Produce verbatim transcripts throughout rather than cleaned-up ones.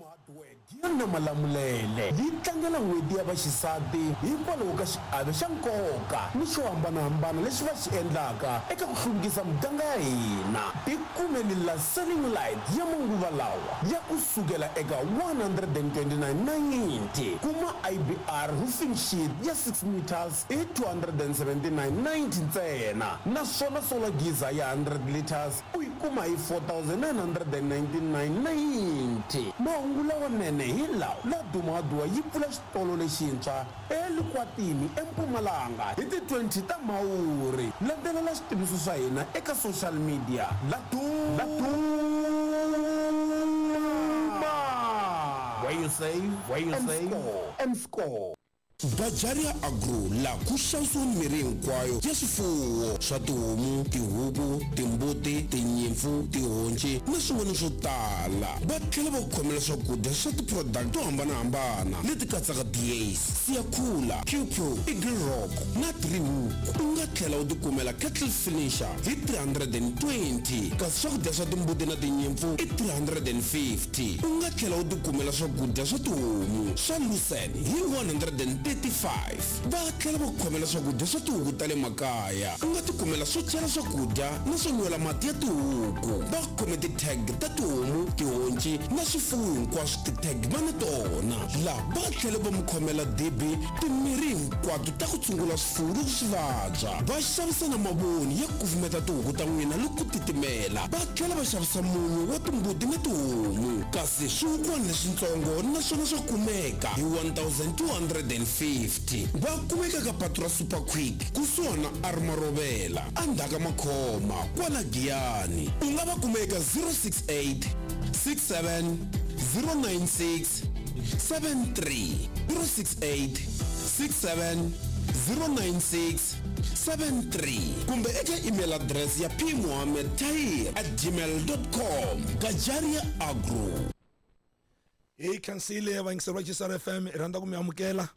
Hardware Giyani Malamulele yi tlangela n'hweti ya vaxisati hikwalaho ka xiave xa nkoka ni xo hambanahambana lexi va xi endlaka eka ku hluvukisa muganga ya hina. Tikumeli la ceiling light ya manguva lawa ya ku sukela eka one hundred and twenty-nine ninety. Kuma I B R roofing sheet ya six meters hi two hundred and seventy-nine ninety ntsena, naswona solar geyser ya hundred liters u yi kuma hi four thousand nine hundred and ninety-nine ninety. Mahungu lawanene hi lawa: Laduma Hardware yi pfula xitolo lexintshwa eLikwatini eMpumalanga hi ti twenty ta Mhawuri. Landzelela switiviso swa hina eka social media. Laduma, where you save, where you save and score. Gajaria Agro la ku xavisiwa mirhi hinkwayo ya swifuwo swa tihomu, tihuku, timbuti, tinyimpfu, tihonci na swin'wana swo tala. Va tlhela va ku khomela swakudya swa ti-product to hambanahambana leti katsaka D A's, Siyakhula, Q Q, Eagle Rock na Three Hook. U nga tlhela u tikumela kettle finisher hi three hundred and twenty, kasi swakudya swa timbuti na tinyimpfu i three hundred and fifty. U nga tlhela u tikumela swakudya swa tihomu swa Lucerne hi one hundred and thirty-five. Va tlhela va ku khomela swakudya swa tihuku ta le makaya. U nga tikumela swo chela swakudya na swo nwela mati ya tihuku. Va khome ti-tag ta tihomu, tihonci na swifuwo hinkwaswo, ti-tag va na tona. Laha va tlhela va mi khomela dibi, timirhi hinkwato ta ku tshungula swifuwo loko swi vabya. Va xavisa na mavoni ya ku kufumeta tihuku ta n'wina loko ku titimela. Va tlhela va xavisa munyu wa timbuti na tihomu, kasi swihukwana leswitsongo naswona swa kumeka hi one thousand two hundred and fifty. Va kumeka ka patu ra Super Quick kusuhana na Armarovela endzhaku ka Makhoma kwala Giyani. U nga va kuma eka zero six eight six seven zero nine six seven three, zero six eight six seven zero nine six seven three, kumbe eka email address ya p mohammed tahir at gmail dot com. Gajaria Agro. Hi khensile vayingiseri va G C R F M, hi rhandza ku mi amukela.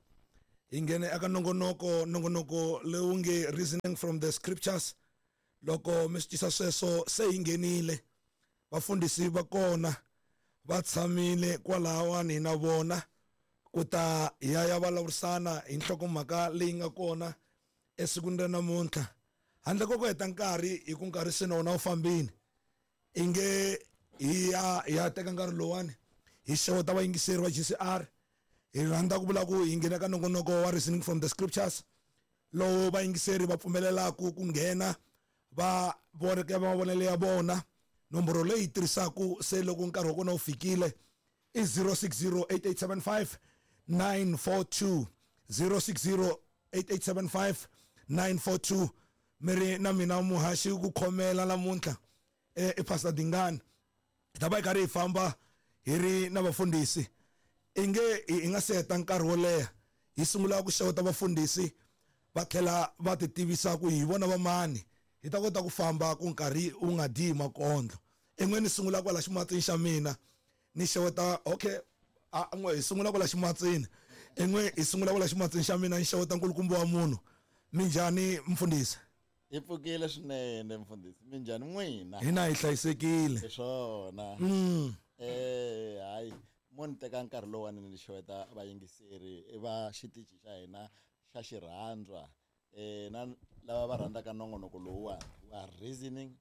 Hi nghene eka nongonoko, nongonoko lowu nge Reasoning from the Scriptures. Loko mi swi tisa sweswo se hi nghenile, vafundhisi va kona va tshamile kwalahawani na vona ku ta hi ya ya vulavurisana hi nhlokomhaka leyi nga kona esikwini ra namuntlha. Handle ko ku heta nkarhi, hi ku nkarhi se na wona wu fambile, i nge hi ya hi ya teka nkarhi lowuwani hi xeweta vayingiseri va G C R. Hi rhandza ku vula ku hi nghena ka nongonoko wa Reasoning from the Scriptures, lowu vayingiseri va pfumelelaka ku nghena va voneke mavonelo ya vona. Nomboro leyi tirhisaka se loko nkarhi wa kona wu fikile i zero six zero eight eight seven five nine four two, zero six zero eight eight seven five nine four two. Mi ri na mina muhaxi ku khomela namuntlha, eh, i Pastor Dingani. Hi ta va hi karhi hi famba hi ri na vafundhisi. I nge hi nga se heta nkarhi wo leha, hi sungula ku xeweta vafundhisi va tlhela va ti tivisa ku hi vona va mani, hi ta kota ku famba ku nkarhi wu nga dyi hi makondlo. En'we ni sungula kwala ximatsini xa mina ni xeweta, okay, a n'we hi sungula kwala ximatsini, en'we hi sungula kwala ximatsini xa mina ni xeweta nkulukumba wa munhu. Minjhani mfundhisi? Hi pfukile swinene mfundhisi, minjhani n'wina? Hina hi hlayisekile. Hi swona. Mm. Eh, hayi, mo ni teka nkarhi lowuwani ni xeweta vayingiseri va xitichi xa hina xa xirhandzwa, eh, na lava va rhandzaka nongonoko lowuwani wa Reasoning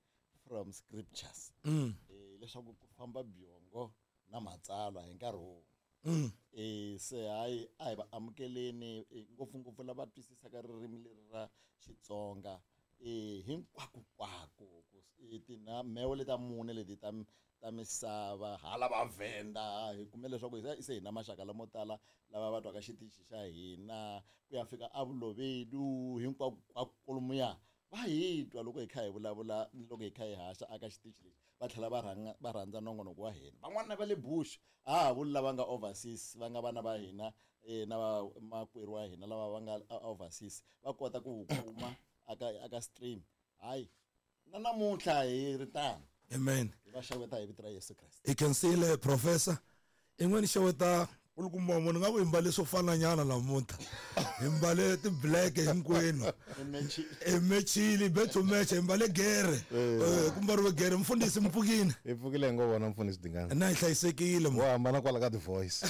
from Scriptures. Mm. Eh, leswaku ku famba byongo na matsalwa hi nkarhi wun'we. Mm. Eh, se hayi, a hi va amukeleni, eh, ngopfungopfu lava twisisaka ririmi leri ra Xitsonga, eh, hinkwako-nkwako, ku s-, eh, tina mheho leta mune leti ta m-, ta misava, hala va Venda, hi kume leswaku hi se, se hi na maxaka lamo tala lava va twaka xitichi xa hina ku ya fika eVulovedu, hinkwako kwalomuya va hi twa loko hi kha hi vulavula ni loko hi kha hi haxa aka xitichi lexi, va tlhela va rhanga, va rhandza nongonoko wa hina. Van'wana va le Bush, a ha vuli lava nga overseas, va nga vana va hina, eh, na va makwerhu wa hina lava va nga overseas, va kota ku wu kuma aka, aka stream. Hayi, na namuntlha hi ri tano. Amen. Hi va xeweta hi vito ra Yesu Kreste. Hi khensile professor. In'we ni xeweta U kuma munhu nga ku hi mbale swo fananyana namuntlha hi mbale ti-black hinkwenu hi mechile bet to match hi mbale gere ku mbariwe gere mfundhisi mi pfukile hi pfukile hi ngo vona mfundhisi Dingani na hi hlayisekile wo hambana kwala ka ti-voice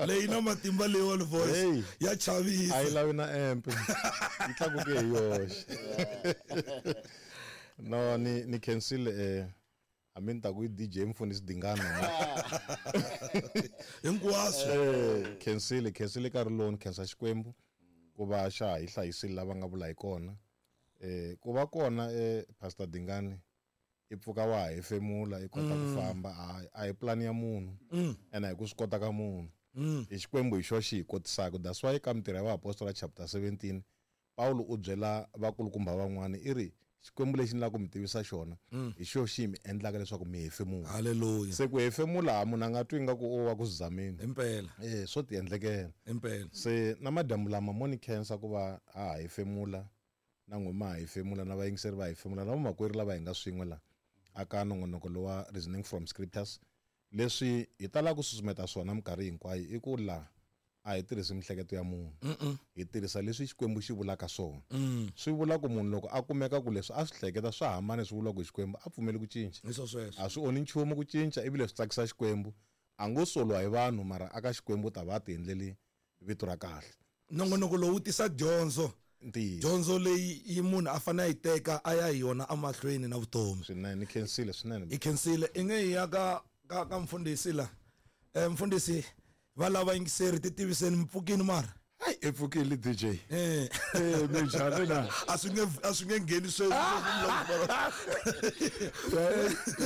leyi na matimba leyiwani voice ya chavisa a yi lavi na amp yi tlakuke hi yoxe no ni ni khensile eh hambi ni ta ku i D J mfundhisi Dingani hinkwaswo eh khensile khensile nkarhi lowu ni khensa Xikwembu ku va xa ha hi hlayisile lava nga vula hi kona eh ku va kona eh Pastor Dingani i pfuka wa ha hefemula i kota ku famba a hi plan ya munhu ene a hi ku swi kota ka munhu i Xikwembu hi xo xi hi kotisaka that's why ka Mintirho ya Vaapostola chapter seventeen Paulo u byela vakulukumba van'wana i ri Xikwembu lexi ni lava ku mi tivisa xona hi xo xi mi endlaka leswaku mi hefemula haleluya se ku hefemula munhu a nga twi nga ku o wa ku zameni impela eh swo ti endlekela impela se na madyambu lama mo ni khensa ku va ha ha hefemula na n'wina ha hefemula na vayingiseri va hefemula na vamakwerhu lava hi nga swin'we la aka nongonoko lowa Reasoning from Scriptures leswi hi talaka ku susumeta swona minkarhi hinkwayo i ku la a hi tirhisi mihleketo ya munhu hi tirhisa leswi Xikwembu xi vulaka swona swi vula ku munhu loko a kumeka ku leswi a swi hleketa swa hambana swi vulaka hi Xikwembu a pfumeli ku cinca a swi onhi nchumu ku cinca ivile swi tsakisa Xikwembu a ngo soliwa hi vanhu mara aka Xikwembu ta va ti endleli vito ra kahle nongonoko lowu tisa dyondzo dyondzo leyi yi munhu a fanele a yi teka a ya hi yona emahlweni na vutomi swinene ni khensile swinene i khensile i nge hi ya ka ka ka mfundhisi la eh mfundhisi va lava yingiseri ti tiviseni mpfukini mara hayi i pfukile D J eh eh minjhani na a swi nge a swi nge ngheni sweswi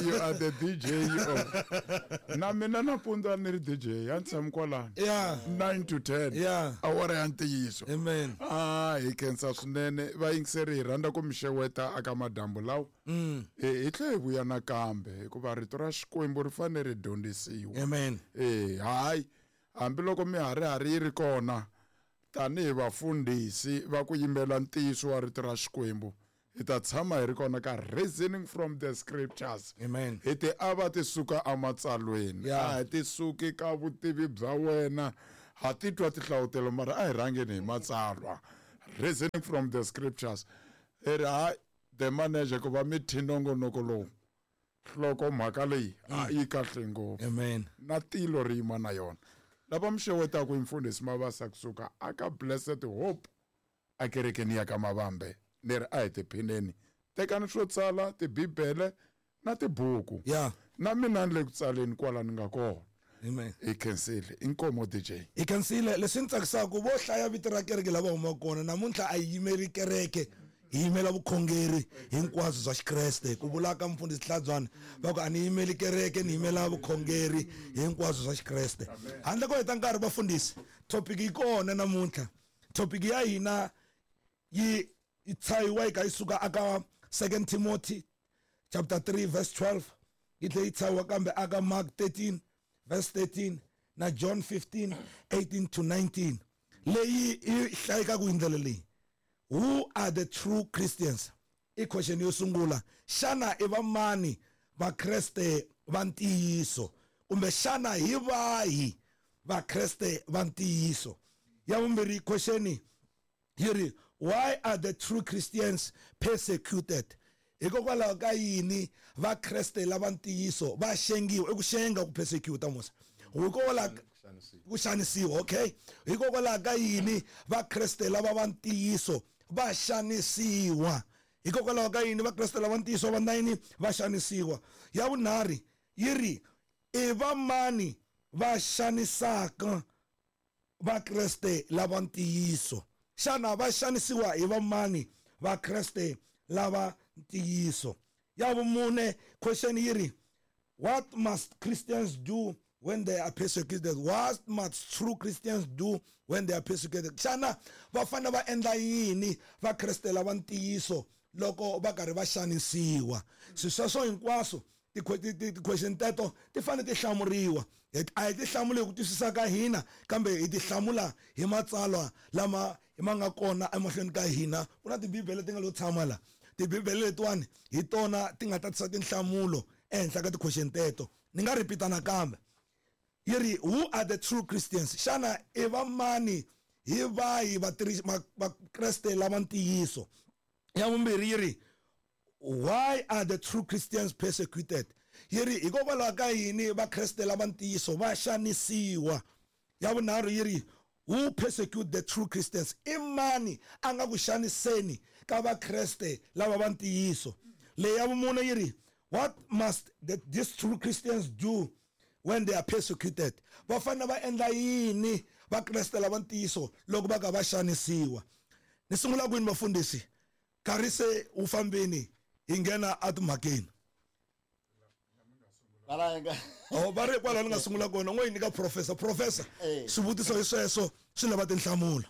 you are the D J of na mina nampundzu a ni ri D J a ni tshami kwalano yeah nine to ten yeah awara ya ntiyiso amen ah hi khensa swinene vayingiseri hi rhandza ku mi xeweta aka madyambu lawa mm hi tlhe hi vuya nakambe hikuva rito ra Xikwembu ri fanele ri dyondzisiwa amen eh hayi hambiloko miharihari yi ri kona tanihi vafundhisi va ku yimbela ntiyiso wa rito ra Xikwembu hi ta tshama hi ri kona ka Reasoning from the Scriptures amen hi ti ava ti suka ematsalweni a hi ti suki ka vutivi bya wena ha titwa tinhlavutelo mara a hi rhangeni hi matsalwa Reasoning from the Scriptures hi ri hayi the manager ku va mi thyi nongonoko lowu hloko mhaka leyi a yi kahle ngopfu amen na tilo ri yima na yona lava mi xewetaka hi mfundhisi Mabasa kusuka aka Blessed Hope akerekeni ya ka Mavambe ni ri a hi tiphineni tekani swo tsala tibibele na tibuku yeah na mina ni le ku tsaleni kwala ni nga kona amen hi khensile inkomo D J hi khensile leswi ni tsakisaka vo hlaya vito ra kereke lava humaka kona namuntlha a yi yimeri kereke hi yimela vukhongeri hinkwaswo bya Xikreste ku vula ka mfundhisi Hlabyani va ku a ni yimeli kereke ni yimela vukhongeri hinkwaswo bya Xikreste handle ko heta nkarhi vafundhisi topic yi kona namuntlha topic ya hina yi yi tshahiwa yi ka yi suka aka Second Timothy chapter three verse twelve yi tlhela yi tshahiwa kambe aka Mark thirteen verse thirteen na John fifteen eighteen to nineteen leyi yi hlayekaka hi ndlela leyi who are the true Christians i question yo sungula xana i va mani vakreste va ntiyiso kumbe xana hi vahi vakreste va ntiyiso ya vumbirhi question yi ri why are the true Christians persecuted hikokwalaho ka yini vakreste lava ntiyiso va xengiwa i ku xenga ku persecute musa hikokwalaho ku xanisiwa okay hikokwalaho ka yini vakreste lava va ntiyiso va xanisiwa hikokwalaho ka yini vakreste lava ntiyiso va nayini va xanisiwa ya vunharhu yi ri i va mani va xanisaka vakreste lava ntiyiso xana va xanisiwa hi va mani vakreste lava ntiyiso ya vumune question yi ri what must Christians do when they are persecuted what must true Christians do when they are persecuted xana va fanele va endla yini vakreste lava ntiyiso loko va karhi va xanisiwa swi sweswo hinkwaswo ti-question teto ti fanele ti hlamuriwa a hi ti hlamuli hi ku twisisa ka hina kambe hi ti hlamula hi matsalwa lama ma nga kona emahlweni ka hina ku na tibibele ti nga lo tshama la tibibele letiwani hi tona ti nga tatisa tinhlamulo ehenhla ka ti-question teto ni nga ripita nakambe Yi ri who are the true Christians? Xana i va mani hi vahi vakreste lava ntiyiso? Ya vumbirhi yi ri why are the true Christians persecuted? Yi ri hikokwalaho ka yini vakreste lava ntiyiso va xanisiwa? Ya vunharhu yi ri who persecute the true Christians? I mani a nga ku xaniseni ka vakreste lava va ntiyiso? Leyi ya vumune yi ri what must the, these true Christians do when they are persecuted? Va fanele va endla yini vakreste lava ntiyiso loko va ka va xanisiwa? Ni sungula kwini vafundhisi? Nkarhi se wu fambini, hi nghena etimhakeni. Oh, va ri kwalaho ni nga sungula kona, n'we yi nyika professor. Professor, swivutiso hi sweswo swi lava tinhlamulo.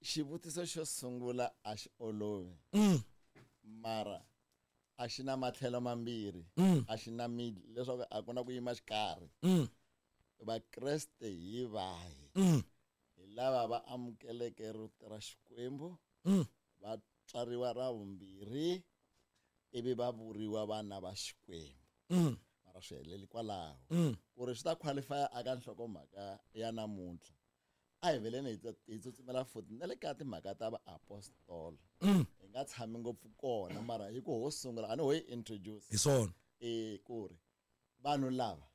Xivutiso xo sungula a xi olovi, mara a xi na matlhelo mambirhi, a xi na middle, leswaku a ku na ku yima xikarhi. Vakreste hi vahi? Hi lava va amukeleke rito ra Xikwembu, va tswariwa ra vumbirhi, ivi va vuriwa vana va Xikwembu. Mara swi heleli kwalaho. Ku ri swi ta qualify aka nhlokomhaka ya namuntlha, a hi veleni hi tsutsumela futhi na le ka timhaka ta vaapostola. Hi nga tshami ngopfu kona, mara hi ku ho sungula a ni ho yi introduce. Hi swona. E ku ri vanhu lava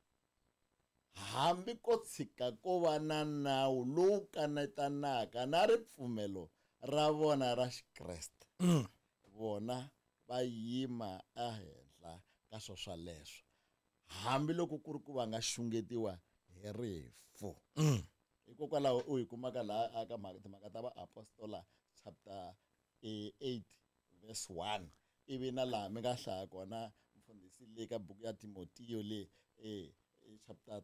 hambi ko tshika ko va na nawu lowu kanetanaka na ripfumelo ra vona ra Xikreste, vona va yima ehenhla ka swo swaleswo, hambi loko ku ri ku va nga xungetiwa hi rifu. Hikokwalaho u hi kumaka laha aka timhaka ta vaapostola chapter eight verse one, ivi na laha mi nga hlaya kona mfundhisi le ka buku ya Timotiyo le chapter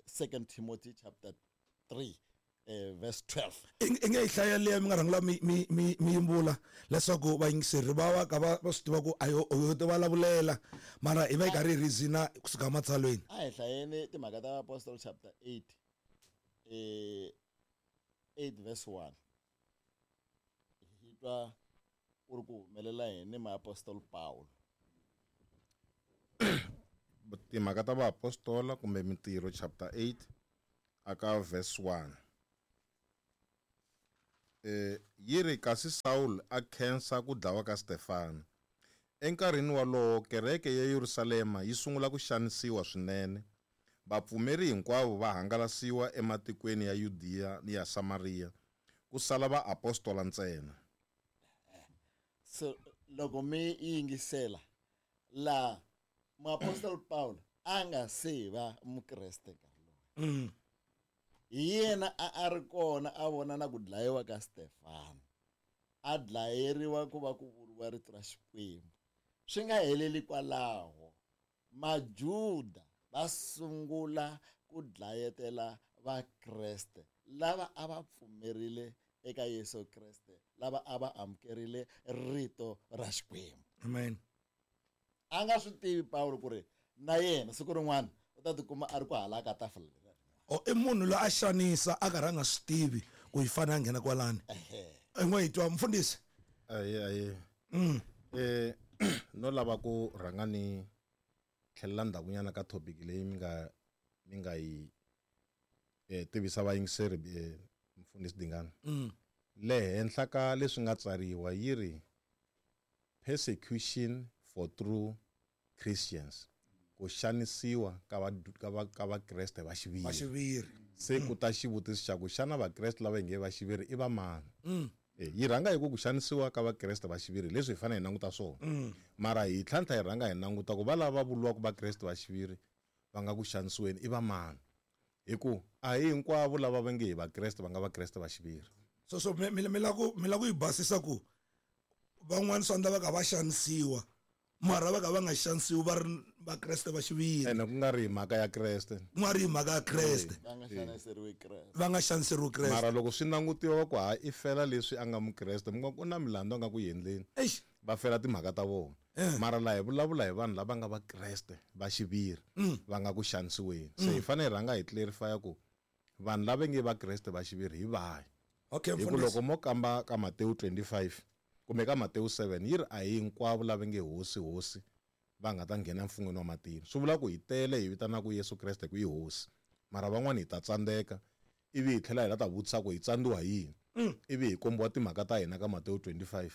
Second Timothy chapter three verse twelve. I nge yi hlaya leyi mi nga rhangela mi mi mi mi yimbula leswaku vayingiseri va va ka va va swi tiva ku a yo yo ti vulavulela, mara hi va yi karhi hi reason-a kusuka matsalweni. A hi hlayeni timhaka ta Apostol chapter eight, eh eight verse one. Hi twa ku ri ku humelela yini muapostol Paulo. Timhaka ta vaapostola kumbe Mintirho chapter eight aka verse one. Eh yi ri kasi Saul a khensa ku dlawa ka Stefano. Enkarhini wolowo kereke ya Yerusalema yi sungula ku xanisiwa swinene. Vapfumeri hinkwavo va hangalasiwa ematikweni ya Yudiya ni ya Samaria, ku sala vaapostola ntsena. So loko mi yingisela la muapostol Paulo a nga se va mukreste nkarhi lowu. Hi yena a a ri kona a vona na ku dlayiwa ka Stefano, a dlayeriwa ku va ku vuriwa rito ra Xikwembu. Swi nga heleli kwalaho, Majuda va sungula ku dlayetela Vakreste lava a va pfumerile eka Yesu Kreste, lava a va amukerile rito ra Xikwembu. Amen. A nga swi tivi Paulo ku ri na yena siku rin'wana u ta tikuma a ri ku hala ka tafula. O i munhu loyi a xanisa a karhi a nga swi tivi ku yi fanele a nghena kwalani. I n'we hi twa mfundhisi. Aye aye. Eh no lava ku rhanga ni tlhelela ndzhakunyana ka topic leyi mi nga mi nga yi eh tivisa vayingiseri mfundhisi Dingana. Le henhla ka leswi nga tsariwa yi ri persecution for true Christians, ku xanisiwa ka va ka va ka vakreste va xiviri. Va xiviri. Se ku ta xivutiso xa ku xana vakreste lava nge va xiviri i va mani? Eh yi rhanga hi ku ku xanisiwa ka vakreste va xiviri leswi hi fanele hi languta swona. Mara hi tlhantlha hi rhanga hi languta ku va lava vuriwaka vakreste va xiviri va nga ku xanisiweni i va mani? Hi ku a hi hinkwavo lava va nge hi vakreste va nga vakreste va xiviri. So so mi mi la ku mi la ku yi basisa ku van'wana swi endla va ka va xanisiwa, mara va ka va nga xanisiwi va ri vakreste va xiviri. Ene ku nga ri hi mhaka ya Kreste. Ku nga ri hi mhaka ya Kreste. Va nga xaniseriwi Kreste. Va nga xaniseriwi Kreste. Mara loko swi langutiwa va ku ha i fela leswi a nga mukreste, mi nga ku na milandzu a nga ku endleni. Eish. Va fela timhaka ta vona. Mara laha hi vulavula hi vanhu lava nga vakreste va xiviri va nga ku xanisiweni. Se hi fanele hi rhanga hi clarify ku vanhu lava nge vakreste va xiviri hi vahi. Okay, hi ku loko mo kamba ka Matewu twenty-five kumbe ka Matewu seven yi ri a hi hinkwavo lava nge hosi hosi va nga ta nghena mfun'weni wa matilo. Swi vula ku hi tele hi vitanaka Yesu Kreste ku i hosi, Mara van'wani hi ta tsandzeka ivi hi tlhela hi la ta vutisa ku hi tsandziwa hi yini. Ivi hi kombiwa timhaka ta hina ka Mateo twenty-five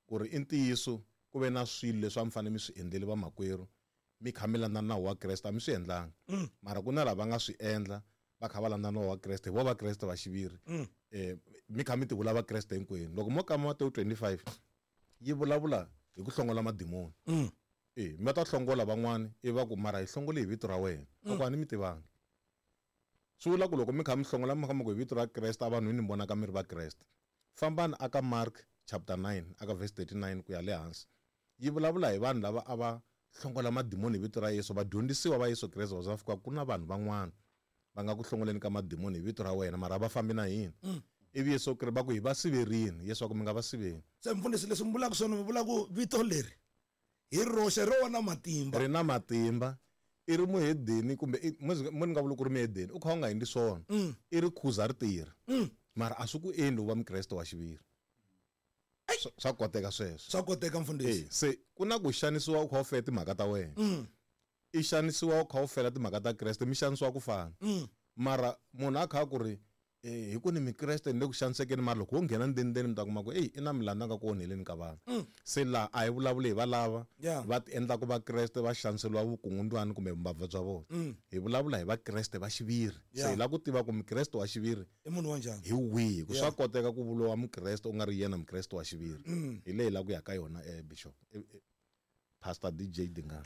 ku ri i ntiyiso ku ve na swilo leswi a mi fanele mi swi endleli vamakwerhu mi kha mi landza nawu wa Kreste a mi swi endlanga. Mara ku na lava nga swi endla va kha va landza nawu wa Kreste hi vo Vakreste va xiviri. Eh mi kha mi ti vula Vakreste hinkwenu. Loko mo kamba Mateo twenty-five yi vulavula hi ku hlongola madimoni. Eh mi ta hlongola van'wani i va ku mara hi hlongole hi vito ra wena. A ku a ni mi tivanga. Swi vula ku loko mi kha mi hlongola mi kha mi ku hi vito ra Kreste a vanhu ni vonaka mi ri va Kreste. Fambani aka Mark chapter nine aka verse thirty-nine ku ya le hansi. Yi vulavula hi vanhu lava a va hlongola madimoni hi vito ra Yesu, vadyondzisiwa va Yesu Kreste va fika ku na vanhu van'wana va nga ku hlongoleni ka madimoni hi vito ra wena mara va fambi na hina. Ivi Yesu Kreste va ku hi va siverini, Yesu a ku mi nga va siveni. Se mfundhisi leswi mi vulaka swona mi vula ku vito leri hi roxe ro na matimba. Ri na matimba. I ri muhedeni kumbe mo ni nga vuli ku ri muhedeni u kha u nga endli swona. I ri khuza ri tirha. Mara a swi ku endli u va Mukreste wa xiviri. Swa koteka sweswo. Swa koteka mfundhisi. Se ku na ku xanisiwa u kha u fela timhaka ta wena. I xanisiwa u kha u fela timhaka ta Kreste mi xanisiwa ku fana. Mara munhu a kha ku ri eh hi ku ni Mukreste ni le ku xanisekeni mara loko wo nghena ndzeni mi ta kuma ku ey i na milandzu nga ku onheleni ka vanhu. Se laha a hi vulavuli hi valava va ti endlaka Vakreste va xaniseriwa vukungundwani kumbe vumbabva bya vona. Hi vulavula hi Vakreste va xiviri. Se hi lava ku tiva ku Mukreste wa xiviri i munhu wa njhani. Hi wihi ku swa koteka ku vuriwa Mukreste u nga ri yena Mukreste wa xiviri. Hi leyi la ku ya ka yona eh Bishop Pastor D J Dingani.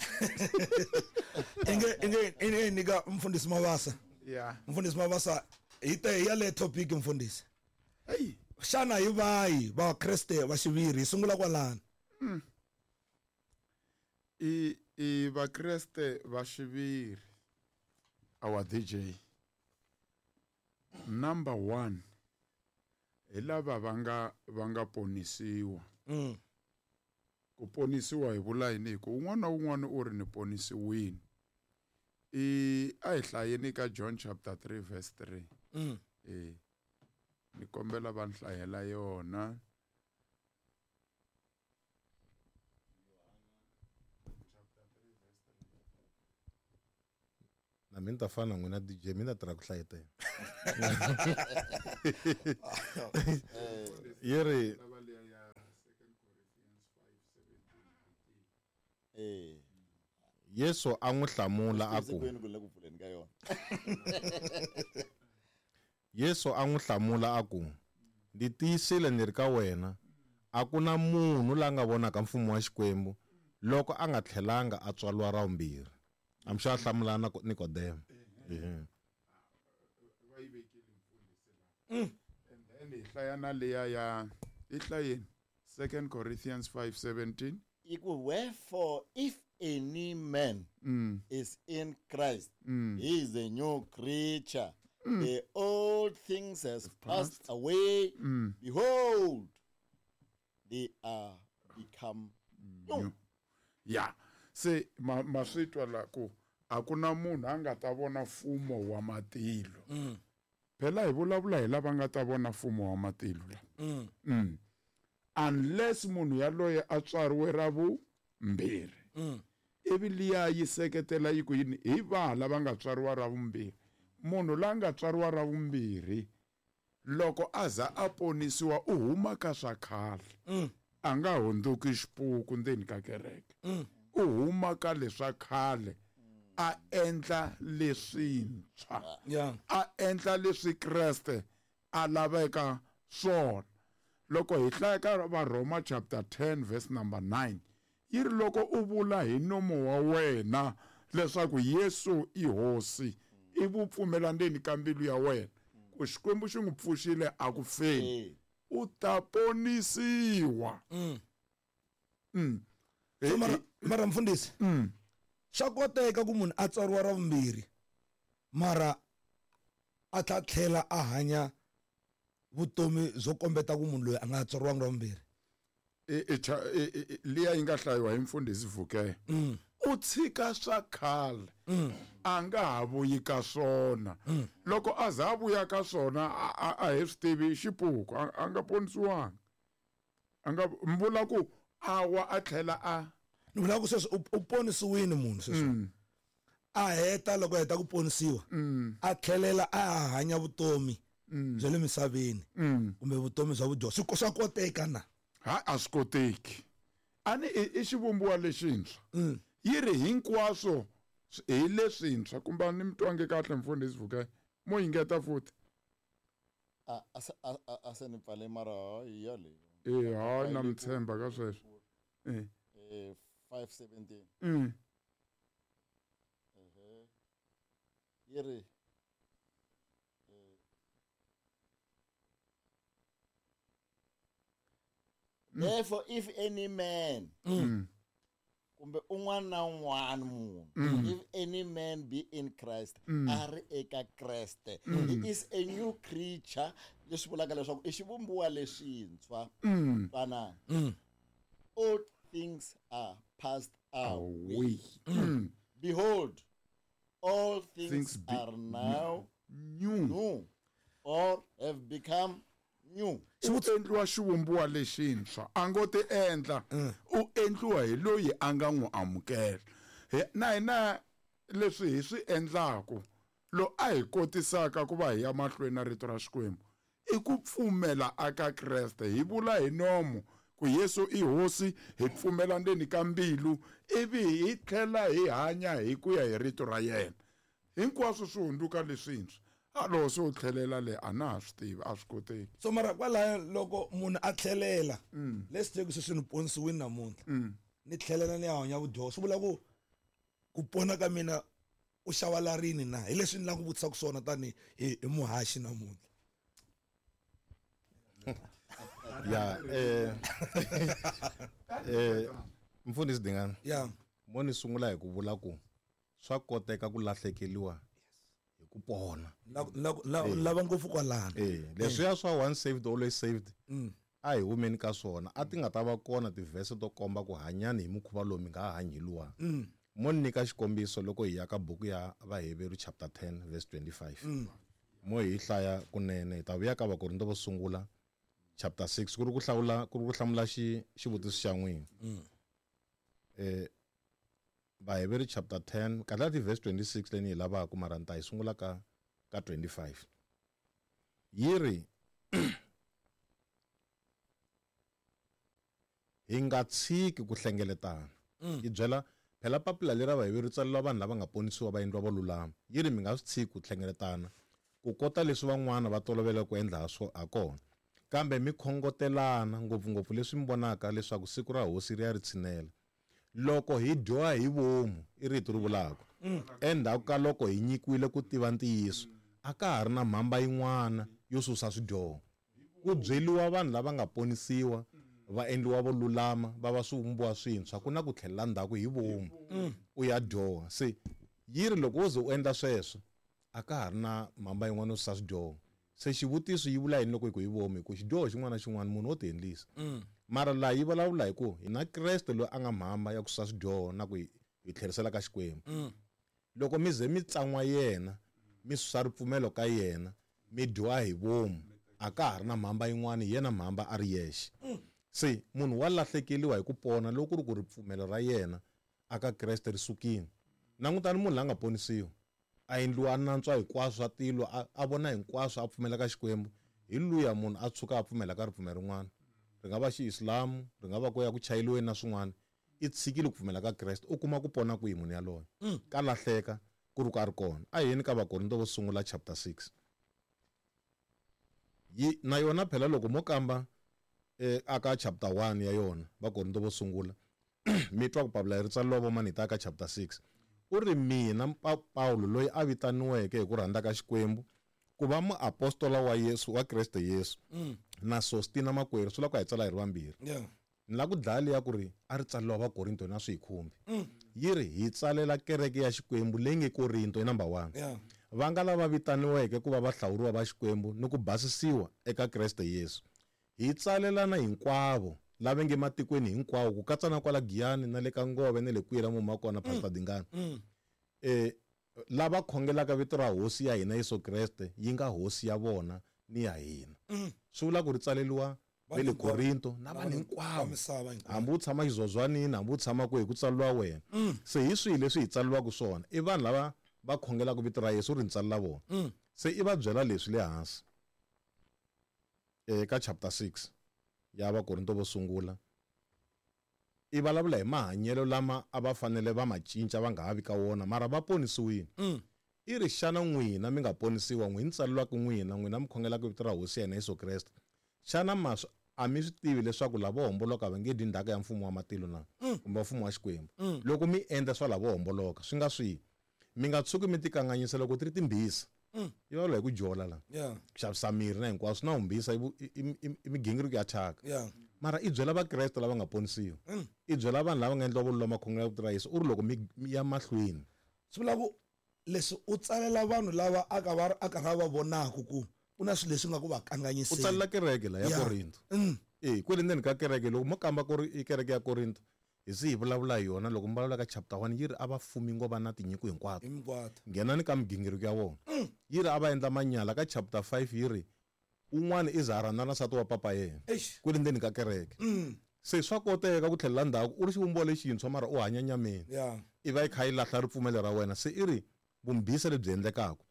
Inge inge inge nika mfundhisi Mabasa. Yeah. Mfundhisi Mabasa hi te ya le topic mfundhisi. Hey, xana hi vahi Vakreste va xiviri hi sungula kwalano? I i Vakreste va xiviri our D J number one hi lava va nga va nga ponisiwa. Mm. Ku ponisiwa hi vula yini? Hi ku un'wana na un'wana u ri ni ponisiwini. I a hi hlayeni ka John chapter three verse three. Mm. Eh ni kombela va nhlayela yona. Na mina ta fana n'wina D J mina tirha ku hlayetela. Yeri eh Yesu a n'wi hlamula a ku Yesu a n'wi hlamula a ku ndzi tiyisile ni ri ka wena a ku na munhu la nga vonaka mfumo wa Xikwembu loko a nga tlhelanga a tswariwa ra vumbirhi. I'm sure hlamula na Nikodemo. Eh va yi vekile mfundhisi la. And then hi hlaya na liya ya hi hlayeni Second Corinthians five seventeen. Wherefore if any man mm. is in Christ, mm. he is a new creature. Mm. The old things has passed away. Mm. Behold, they are become new. Yeah. Se ma maswitwa la ku akuna munhu a nga ta vona mfumo wa matilo. Mm. Phela hi vulavula hi lava nga ta vona mfumo wa matilo la. Mm. Mm. Unless munhu yaloye a tswariwe ra vumbirhi. Mm. Ivi liya yi seketela yi ku yini hi va lava nga tswariwa ra vumbirhi. Munhu la nga tswariwa ra vumbirhi loko a za a ponisiwa u huma ka swa khale. Mm. A nga hundzuki xipuku ndzeni ka kereke. Mm. U huma ka leswa khale a endla leswintshwa. Yeah. A endla leswi Kreste a laveka swona. Loko hi hlaya ka Varhoma chapter ten verse number nine yi ri loko u vula hi nomo wa wena leswaku Yesu i hosi i vupfumela ndzeni ka mbilu ya wena ku Xikwembu xi n'wi pfuxile a ku feni u ta ponisiwa. Mm. Mm. So mara mara mfundhisi mm. swa koteka ku munhu a tswariwa ra vumbirhi mara a tla tlhela a hanya vutomi byo kombeta ku munhu loyi a nga tswariwanga ra vumbirhi. E liya yi nga hlayiwa hi mfundhisi Vuke. Mm. U tshika swa khale. Mm. A nga ha vuyi ka swona. Mm. Loko a za a vuya ka swona a a hi swi tivi xipuku a nga ponisiwanga. A nga mvula ku a wa a tlhela a ni vula ku sweswi u ponisiwile munhu sweswi. Mm. A heta loko heta ku ponisiwa a tlhelela a hanya vutomi bya le misaveni kumbe vutomi bya vudyoho swi swa koteka na ha a swi koteki ani i xivumbiwa lexintshwa yi ri hinkwaswo hi leswintshwa kumbe ni mi twange kahle mfundhisi Vukai mo yingeta futhi a a a se ni pfale mara hi yaleyo eh hayi na mi tshemba ka sweswo eh eh five seventeen mm ehe yi ri therefore if any man mm. kumbe un'wana na un'wana munhu if any man be in Christ a ri eka Kreste he is a new creature leswi vulaka leswaku i xivumbiwa lexintshwa twanana all things are passed away away behold all things, Things be- are now new new or have become new u endliwa xivumbiwa lexintshwa a ngo ti endla u endliwa hi loyi a nga n'wi amukela na hina leswi hi swi endlaku lo a hi kotisaka ku va hi ya mahlweni na rito ra Xikwembu i ku pfumela aka Kreste hi vula hi nomo ku Yesu i hosi hi pfumela ndzeni ka mbilu ivi hi tlhela hi hanya hi ku ya hi rito ra yena hinkwaswo swi hundzuka leswintshwa a loko se u tlhelela le a na ha swi tivi a swi koteki so mara kwalaya loko munhu a tlhelela let's take sweswi ni ponisiwini namuntlha ni tlhelela ni ya hanya vudyoho swi vula ku ku pona ka mina u xava la rini na hi leswi ni lava ku vutisaka swona tani hi hi muhaxi namuntlha ya eh eh mfundhisi Dingani ya mo ni sungula hi ku vula ku swa koteka ku lahlekeriwa hi ku pona lava ngopfu kwalano eh leswiya swa once saved always saved a hi humeni ka swona a ti nga ta va kona tivhese to komba ku hanyani hi mukhuva lowu mi nga ha hanyi hi luwa mo ni nyika xikombiso loko hi ya ka buku ya Vaheveru chapter ten verse twenty-five mo hi hlaya kunene hi ta vuya ka Vakorinto vo sungula chapter six ku ri ku hlawula ku ri ku hlamula xi xivutiso xa n'wina eh Vaheveru chapter ten kahle ti verse twenty-six leyi ni yi lavaka mara ni ta yi sungula ka ka twenty-five yi ri hi nga tshiki ku hlengeletana yi byela phela papila leri ra Vaheveru tsaleriwa vanhu lava nga ponisiwa va endliwa va lulama yi ri mi nga swi tshiki ku hlengeletana ku kota leswi van'wana va tolovela ku endla ha swo ha kona kambe mi khongotelana ngopfungopfu leswi mi vonaka leswaku siku ra hosi ri ya ri tshinela loko hi dyoha hi vomu i rito ri vulaka endzhaku ka loko hi nyikiwile ku tiva ntiyiso a ka ha ri na mhamba yin'wana yo susa swidyoho ku byeliwa vanhu lava nga ponisiwa va endliwa vo lulama va va swivumbiwa swintshwa ku na ku tlhelela ndzhaku hi vomu u ya dyoha se yi ri loko wo ze u endla sweswo a ka ha ri na mhamba yin'wana yo susa swidyoho se xivutiso yi vula yini loko hi ku hi vomu hi ku xidyoho xin'wana na xin'wana munhu wo ti endlisa mara laha yi vulavula hi ku hi na Kreste loyi a nga mhamba ya ku susa swidyoho na ku hi hi tlherisela ka Xikwembu loko mi ze mi tsan'wa yena mi susa ripfumelo ka yena mi dyoha hi vomu a ka ha ri na mhamba yin'wana hi yena mhamba a ri yexe se munhu wa lahlekeriwa hi ku pona loko ku ri ku ripfumelo ra yena aka Kreste ri sukile langutani munhu la nga ponisiwa a endliwa nantswa hinkwaswo swa tilo a vona hinkwaswo a pfumela ka Xikwembu hi luya munhu a tshuka a pfumela ka ripfumelo rin'wana ri nga va xiislamu ri nga va ku ya ku chayeliweni na swin'wana i tshikile ku pfumela ka Kreste u kuma ku pona kwihi munhu yaloye ka lahleka ku ri ku a ri kona a yeni ka Vakorinto vo sungula chapter six yi na yona phela loko mo kamba eh aka chapter one ya yona Vakorinto vo sungula mi twa ku Pawulo ri tsaleriwa vo mani hi ta ka chapter six u ri mina Pawulo loyi a vitaniweke hi ku rhandza ka Xikwembu ku va muapostola wa Yesu wa Kreste Yesu na Sostina makwerhu swi lava ku hi tsala hi ri vambirhi ni lava ku dlaya liya ku ri a ri tsaleriwa Vakorinto na swi hi khumbi yi ri hi tsalela kereke ya Xikwembu leyi nge Korinto i number one va nga lava vitaniweke ku va vahlawuriwa va Xikwembu ni ku basisiwa eka Kreste Yesu hi tsalelana hinkwavo lava nge matikweni hinkwawo ku katsa na kwala Giyani na le ka Ngove na le kwihi la mu kona Pastor Dingani eh lava khongelaka vito ra hosi ya hina Yesu Kreste yi nga hosi ya vona ni ya hina swi vula ku ri tsaleriwa va le Korinto na vanhu hinkwavo hambi u tshama xizozwanini hambi u tshama kwihi ku tsariwa wena se hi swihi leswi hi tsariwaka swona i vanhu lava va khongelaka vito ra Yesu ri ni tsalela vona se i va byela leswi le hansi eka chapter six ya Vakorinto vo sungula i vulavula hi mahanyelo lama a va fanele va ma cinca va nga ha vi ka wona mara va ponisiwile i ri xana n'wina mi nga ponisiwa n'wi ni tsalelwaka n'wina n'wina mi khongelaka vito ra Hosi ya hina Yesu Kreste xana maswi a mi swi tivi leswaku lavo homboloka va nge dyi ndzhaka ya mfumo wa matilo na kumbe mfumo wa Xikwembu loko mi endla swa lavo homboloka swi nga swihi mi nga tshuki mi tikanganyisa loko ti ri timbhisa yi vulavula hi ku jola la ku xavisa miri na hinkwaswo na humbisa i migingiriko ya thyaka mara i byela vakreste lava nga ponisiwa i byela vanhu lava nga endliwa vululama khongela vito ra Yesu u ri loko mi ya mahlweni swi vula ku leswi u tsalela vanhu lava a ka va a karhi va vonaka ku ku na swilo leswi nga ku va kanganyiseni u tsalela kereke la ya Korinto eh kwele ndzeni ka kereke loko mo kamba ku ri i kereke ya Korinto hi si hi vulavula hi yona loko mi vulavula ka chapter one yi ri a va fumi ngo va na tinyiko hinkwato nghenani ka migingiriko ya vona yi ri a va endla manyala ka chapter five yi ri un'wana i za a rhandzana na nsati wa papa yena kwele ndzeni ka kereke se swa koteka ku tlhelela ndzhaku u ri xivumbiwa lexintshwa mara u hanya nyameni i va yi kha yi lahla ripfumelo ra wena se i ri vumbhisa lebyi endlekaka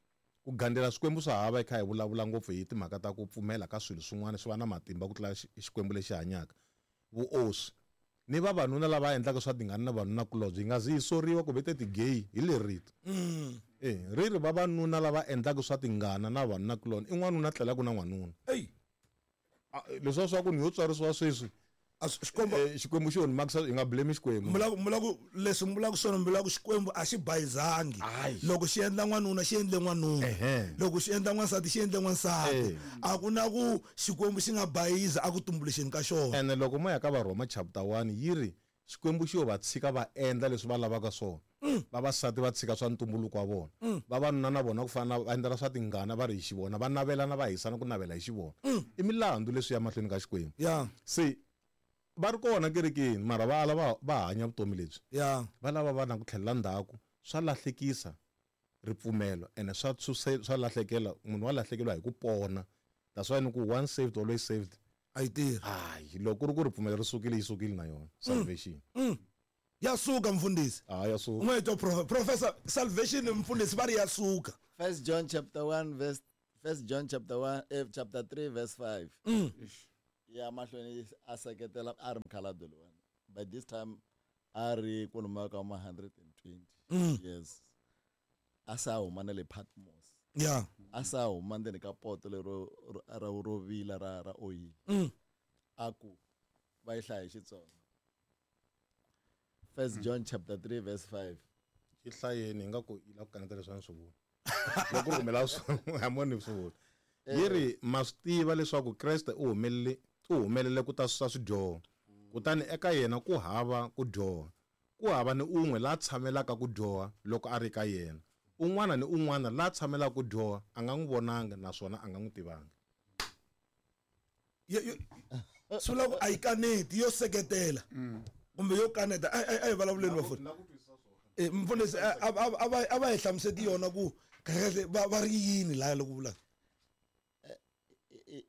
ku gandzela swikwembu swa hava hi kha hi vulavula ngopfu hi timhaka ta ku pfumela ka swilo swin'wana swi va na matimba ku tlula xikwembu lexi hanyaka vuoswi ni vavanuna lava endlaka swa tingana na vanunakulobye yi nga zi yi soriwa ku vete ti-gay hi leri rito eh ri ri vavanuna lava endlaka swa tingana na vanunakulobye i n'wanuna tlelaka na n'wanuna leswiya swa ku ni yo tswarisiwa sweswi Xikwembu xi onhi hi nga blame Xikwembu mula ku leswi mi vulaka swona mi vulaka Xikwembu a xi bayizangi loko xi endla n'wanuna xi endle n'wanuna loko xi endla n'wansati xi endle n'wansati a ku na ku Xikwembu xi nga bayiza a ku tumbuluxeni ka xona ene loko mo ya ka Varhoma chapter one yi ri Xikwembu xi yo va tshika va endla leswi va lavaka swona vavasati va tshika swa ntumbuluko wa vona vavanuna na vona ku fana va endlela swa tingana va ri hi xivona va navelana va hisana ku navela hi xivona i milandzu leswi ya mahlweni ka Xikwembu se va ri kona kerekeni mara va ala va va hanya vutomi lebyi va lava va na ku tlhelela ndzhaku swa lahlekisa ripfumelo ene swa swa lahlekela munhu wa lahlekeriwa hi ku pona that's why ni ku once saved always saved a yi tirhi hayi loko ku ri ku ripfumelo ri sukile yi sukile na yona salvation ya suka mfundhisi ah ya suka n'we to professor salvation mfundhisi va ri ya suka First John chapter one verse First John chapter one eh, chapter three verse five mm. ya mahlweni a seketela a ri mukhalabye lowani by this time a ri kwalomuya ka ma hundred and twenty years a sa huma na le Patmos yeah a sa huma ndzeni ka poto lero ra ro vila ra ra oyili a ku va yi hlaya hi Xitsonga First John chapter three verse five yi hlayeni hi nga ku yi lava ku kaneta leswi a ni swi vula loko ri rhumela swona hamoni swi vula yi ri ma swi tiva leswaku Kreste u humelele u humelele ku ta susa swidyoho kutani eka yena ku hava ku dyoha ku hava ni un'we la tshamelaka ku dyoha loko a ri ka yena un'wana ni un'wana la tshamelaka ku dyoha a nga n'wi vonanga naswona a nga n'wi tivanga swi vula ku a yi kaneti yo seketela kumbe yo kaneta a hi vulavuleni vafundhisi mfundhisi a va hi hlamuseti yona ku kahlekahle va ri yini laya loko vulaka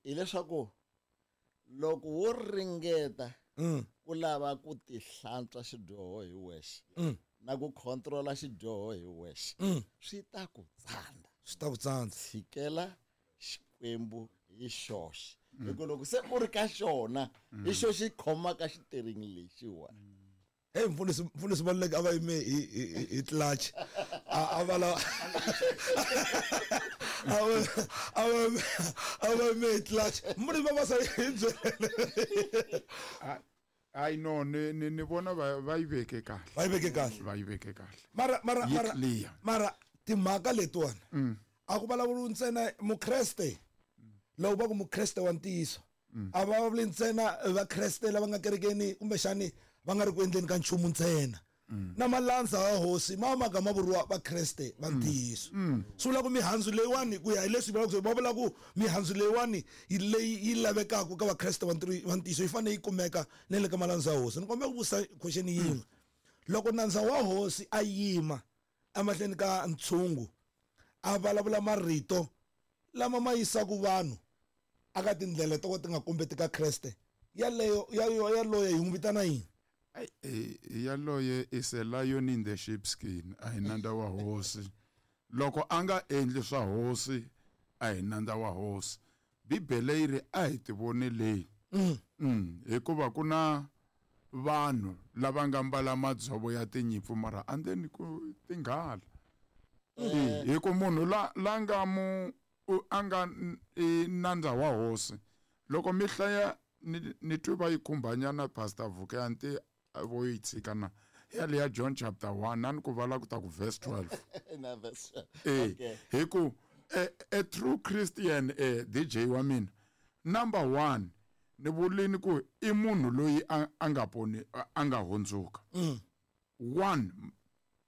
hileswaku loko wo ringeta ku lava ku tihlantswa xidyoho hi wexe na ku controla xidyoho hi wexe swi ta ku tsandza swi ta ku tsandza tshikela Xikwembu hi xoxe hi ku loko se u ri ka xona hi xo xi khomaka xiteringi lexiwani hey mfundhisi mfundhisi Maluleke a va yime hi hi hi clutch a a va la a va a va a va yime hi clutch mfundhisi Mabasa hi byele hayi no ni ni ni vona va va yi veke kahle va yi veke kahle va yi veke kahle mara mara Yi mara clear. mara timhaka letiwani a ku vulavuriwi ntsena mukreste loko va ku mukreste wa ntiyiso a va vulavuli ntsena vakreste lava nga kerekeni kumbexani va nga ri ku endleni ka nchumu ntsena na malandza ya hosi ma maka ma vuriwa vakreste va ntiyiso swi vula ku mihandzu leyiwani ku ya hi leswi vulaka va vula ku mihandzu leyiwani yi leyi yi lavekaka ka vakreste va ntiyiso yi fanele yi kumeka na le ka malandza ya hosi ni kombela ku vutisa question yin'we loko nandza wa hosi a yima emahlweni ka ntshungu a vulavula marito lama ma yisaka vanhu aka tindlela to ti nga kombeti ka Kreste yaleyo yaloye hi n'wi vitana yini? Yaloye is a lion in the sheepskin, a hi nandza wa hosi. Loko a nga endli swa hosi, a hi nandza wa hosi. Bibele yi ri a hi tivoneleni. Mm. Hikuva ku na vanhu lava nga mbala madzovo ya tinyimpfu mara andzeni ku tinghala. Hi ku munhu la la nga mu a nga nandza wa hosi, loko mi hlaya ni twi va yi khumbanyana Pastor Vukanti vo yi tshika na yaleya John chapter one ani ku vala ku ta ku verse twelve. Na verse. Eh, hi ku a, a true Christian, eh, D J wa mina, number one ni vulini ku i munhu loyi a nga poni a nga hundzuka. One,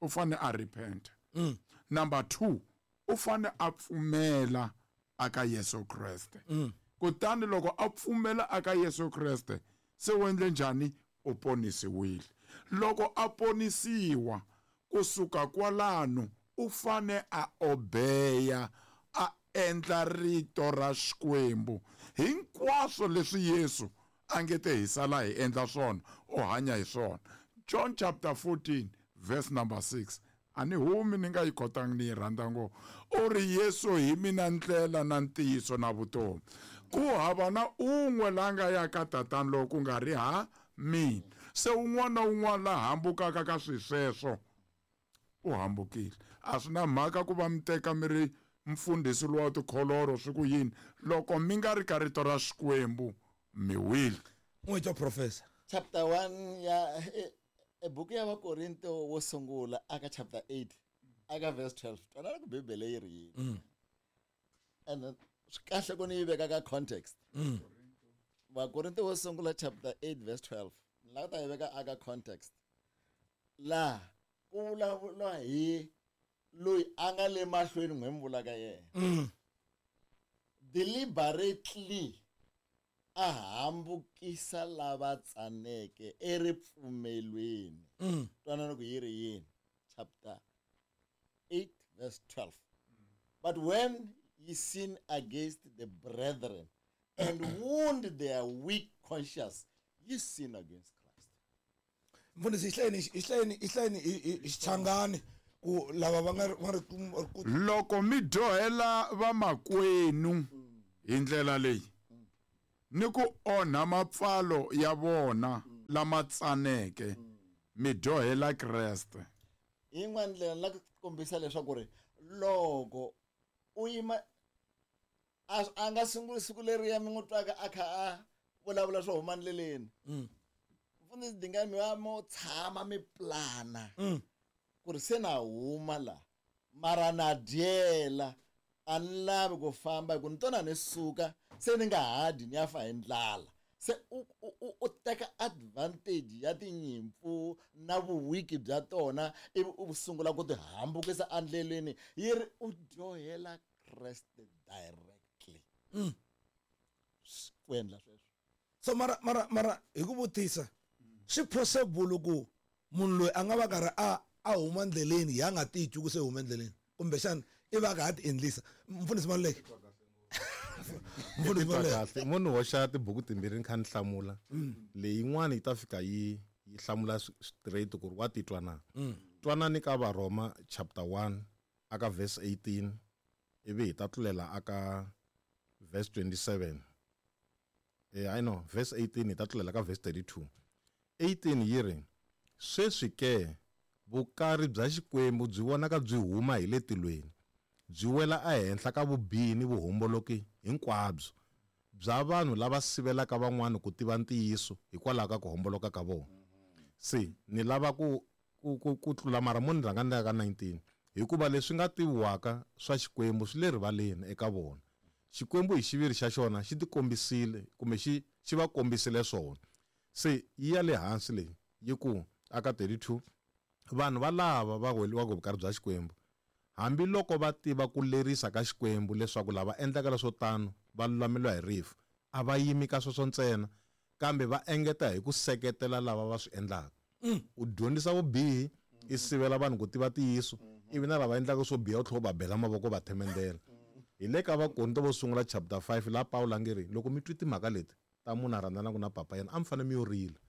u fane a repent. Mm. Number two, u fane a pfumela aka Yesu Kreste. Mm. Kutani loko a pfumela aka Yesu Kreste, se u endle njhani? U ponisiwile. Loko a ponisiwa kusuka kwalano u fane a obeya, a endla rito ra Xikwembu. Hinkwaswo leswi Yesu a nge te hi sala hi endla swona, u hanya hi swona. John chapter fourteen verse number six. Ani humi ni nga yi kotangi ni yi rhandza ngopfu. U ri Yesu hi mina ndlela na ntiyiso na vutomi. Ku hava na un'we la nga ya ka tatana loko ku nga ri ha mina. Se un'wana na un'wana la hambukaka ka swi sweswo u hambukile. A swi na mhaka ku va mi teka mi ri mfundhisi lowa tikholoro swi ku yini, loko mi nga ri ka rito ra Xikwembu mi wile. N'wi twa professor. Chapter one ya e buku ya Vakorinto wo sungula aka chapter eight aka verse twelve. Twanana ku Bibele yi ri yini. And swi kahle ku ni yi veka ka context. Vakorinto wo sungula chapter eight verse twelve. Ni lava ta yi veka aka context. La ku vulavula hi loyi a nga le mahlweni n'we mi vulaka yena. Deliberately a hambukisa lava tsaneke eripfumelweni. Twanana ku yi ri yini. Chapter eight verse twelve. But when ye sin against the brethren and wound their weak conscience, ye sin against Christ. Mfundhisi, hlayeni hlayeni hlayeni xichangani ku lava va nga va ri loko mi dyohela vamakwenu hi ndlela leyi ni ku onha mapfalo ya vona lama tsaneke, mi dyohela Kreste. Yin'wana ndlela la ku kombisa leswaku ri loko u yima a nga sunguli siku leriya mi n'wi twaka a kha a vulavula swo huma ndleleni. Mfundhisi Dingani mi va mo tshama mi plana ku ri se na huma la mara na dyela a ni lavi ku famba hi ku ni tona ni suka se ni nga ha dyi ni ya fa hi ndlala. Se u u u teka advantage ya tinyimpfu na vuwiki bya tona ivi u sungula ku ti hambukisa endleleni. Yi ri u dyohela Kreste directly. Ku endla sweswo. So mara mara mara hi ku vutisa, swi possible ku munhu loyi a nga va karhi a a huma ndleleni ya nga titwi ku se huma endleleni, kumbexana i va ka ha ti endlisa? Mfundhisi Maluleke. Mfundhisi Maluleke, munhu hoxa tibuku timbirhi ni kha ni hlamula. Leyin'wana yi ta fika yi yi hlamula straight ku ri wa titwa na. Twanani ka Varhoma chapter one aka verse eighteen ivi hi ta tlulela aka verse twenty-seven. Eh I know verse eighteen hi ta tlulela ka verse thirty-two. eighteen yi ri sweswi ke vukari bya Xikwembu byi vonaka byi huma hi le tilweni, byi wela ehenhla ka vubihi ni vuhomboloki hinkwabyo bya vanhu lava sivelaka van'wana ku tiva ntiyiso hikwalaho ka ku homboloka ka vona. Se ni lava ku ku ku tlula mara mo ni rhanga ni ya ka nineteen, hikuva leswi nga tiviwaka swa Xikwembu swi le rivaleni eka vona. Xikwembu hi xiviri xa xona xi tikombisile kumbe xi xi va kombisile swona. Se yi ya le hansi leyi yi ku aka thirty-two, vanhu va lava va weliwaka vukari bya Xikwembu hambiloko va tiva ku lerisa ka Xikwembu leswaku lava endlaka leswo tano va lulameliwa hi rifu, a va yimi ka sweswo ntsena kambe va engeta hi ku seketela lava va swi endlaka. U dyondzisa vubihi, i sivela vanhu ku tiva ntiyiso, ivi na lava endlaka swo biha u tlhela u va bela mavoko va themendela. Hi le ka Vakorinto vo sungula chapter five la Pawulo a nge ri loko mi twi timhaka leti ta munhu a rhandzanaka na papa yena a mi fanele mi yo rila.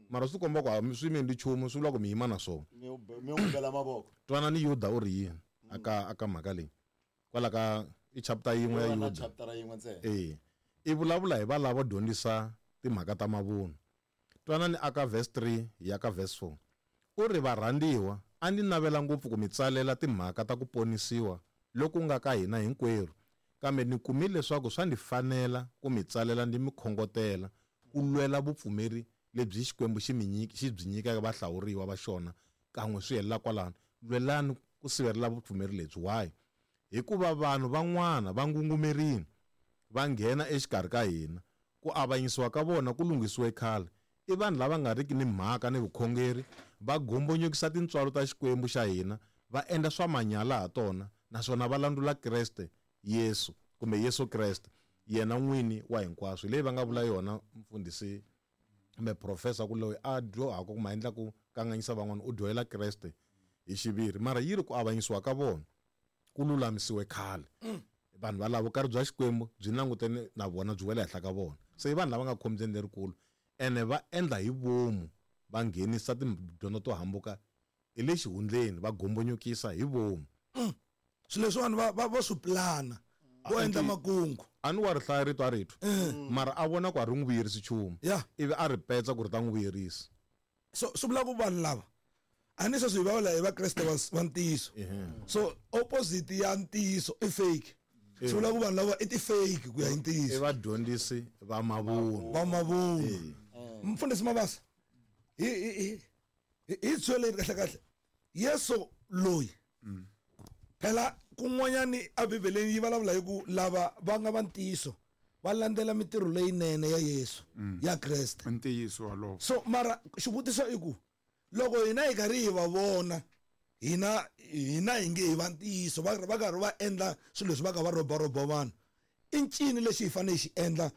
Mara swi komba ku a mi swi mi endli nchumu swi vula ku mi yima na swona. Mi n'wi bela mavoko. Twanani Yuda u ri yini aka aka mhaka leyi. Kwala ka i chapter yin'we ya Yuda. Chapter yin'we ntsena. Eh. I vulavula hi valava dyondzisa timhaka ta mavunwa. Twanani aka verse three ya ka verse four. U ri varhandziwa a ndzi navela ngopfu ku mi tsalela timhaka ta ku ponisiwa loku nga ka hina hinkwerhu, kambe ni kumile leswaku swa ndzi fanela ku mi tsalela ndzi mi khongotela ku lwela vupfumeri lebyi Xikwembu xi mi nyiki xi byi nyikaka vahlawuriwa va xona kan'we swi helela kwalano. Lwelani ku sivelela vupfumeri lebyi. Why? Hikuva vanhu van'wana va ngungumerini va nghena exikarhi ka hina, ku avanyisiwa ka vona ku lunghisiwe khale. I vanhu lava nga riki ni mhaka ni vukhongeri, va gombonyokisa tintswalo ta Xikwembu xa hina, va endla swa manyala ha tona, naswona va landzula Kreste Yesu kumbe Yesu Kreste yena n'wini wa hinkwaswo. Leyi va nga vula yona mfundhisi kumbe professor ku loyi a dyohaka kumbe a endla ku kanganyisa van'wana u dyohela Kreste hi xiviri, mara yi ri ku avanyisiwa ka vona ku lulamisiwe khale. Vanhu va lava vukarhi bya Xikwembu byi langutene na vona byi wela henhla ka vona. Se i vanhu lava nga khombyeni lerikulu ene va endla hi vomu, va nghenisa tidyondzo to hambuka hi le xihundleni, va gombonyokisa hi vomu. Swilo leswi vanhu va va va swi plana vo endla makungu. A ni wa ri hlaya rito a ri twa, mara a vona ku a ri n'wi vuyerisi nchumu, ivi a ri petsa ku ri ta n'wi vuyerisa. So swi vula ku vanhu lava a ni sweswi hi vulavula hi Vakreste va ntiyiso, so opposite ya ntiyiso i fake. Swi vula ku vanhu lava i ti-fake ku ya hi ntiyiso. I vadyondzisi va mavunwa. Va mavunwa. Mfundhisi Mabasa, hi hi hi hi tsweleni kahle kahle Yesu loyi phela kun'wanyani a Bibeleni yi vulavula hi ku lava va nga va ntiyiso va landzela mitirho leyinene ya Yesu ya Kreste. Ntiyiso walowo. So mara xivutiso i ku loko hina hi karhi hi va vona hina hina hi nge hi va ntiyiso va va karhi va endla swilo leswi va ka va roba roba vanhu, i ncini lexi hi fanele hi xi endla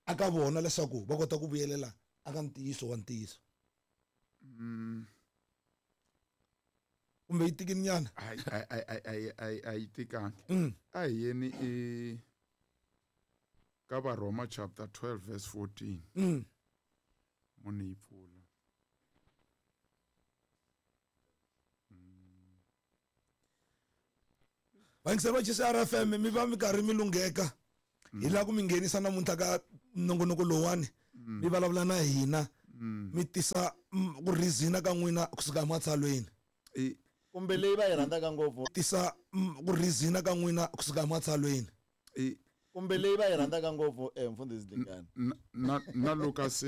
aka vona leswaku va kota ku vuyelela aka ntiyiso wa ntiyiso? Kumbe yi tikini nyana? A a a yi tikangi. A hi yeni i ka Varhoma chapter twelve verse fourteen. Munhu yi pfula. Vayingiseri va G C R F M mi va mi karhi mi lungheka hi lava ku mi nghenisa namuntlha ka nongonoko lowuwani, mi vulavula na hina, mi tisa ku rizina ka n'wina kusuka ematsalweni. Kumbe leyi va yi rhandzaka ngopfu. Tisa ku rizina ka n'wina kusuka ematsalweni. Kumbe leyi va yi rhandzaka ngopfu mfundhisi Dlingane. Na na Luka